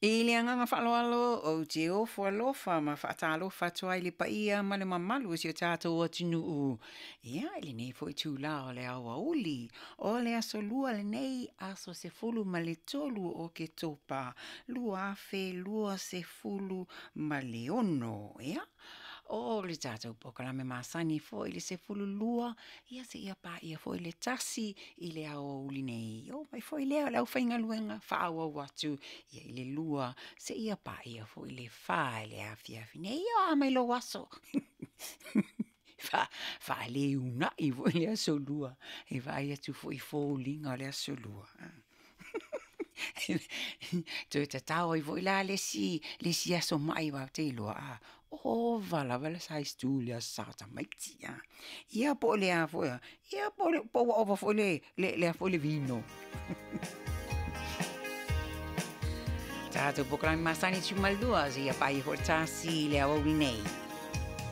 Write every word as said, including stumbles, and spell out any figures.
I le agaga faaaloalo ou te ofo alofa ma faatalofa atu ai i le paia ma le mamalu o si o tatou atunuu. Ia, i lenei foi itulā o le aoauli, o le aso Lua lenei, aso sefulu ma le tolu o Oketopa, lua afe lua sefulu ma le ono. Ia, o le tatou polokalame masani foi i le sefulu lua, ia seia paia foi le tasi i le aoauli nei. Oo mai foi lea o le aufaigaluega faaauau atu ia i le lua seia paia foi le fa i le afiafi nei. Ia, o a mai lou aso? Faale uunai foi le aso Lua e vaai atu foi i foliga o le aso Lua. Toe tatao ai foi la le isi le isi aso mai aua ou te iloa a ova lava le size two i le Aso Sa o tamaiti a. Ia po o le a foi ia po po ua ova foi le le le foi le vino. Tatou polokalame masani sefulumalua seia paia foi le tasi i le aoauli nei.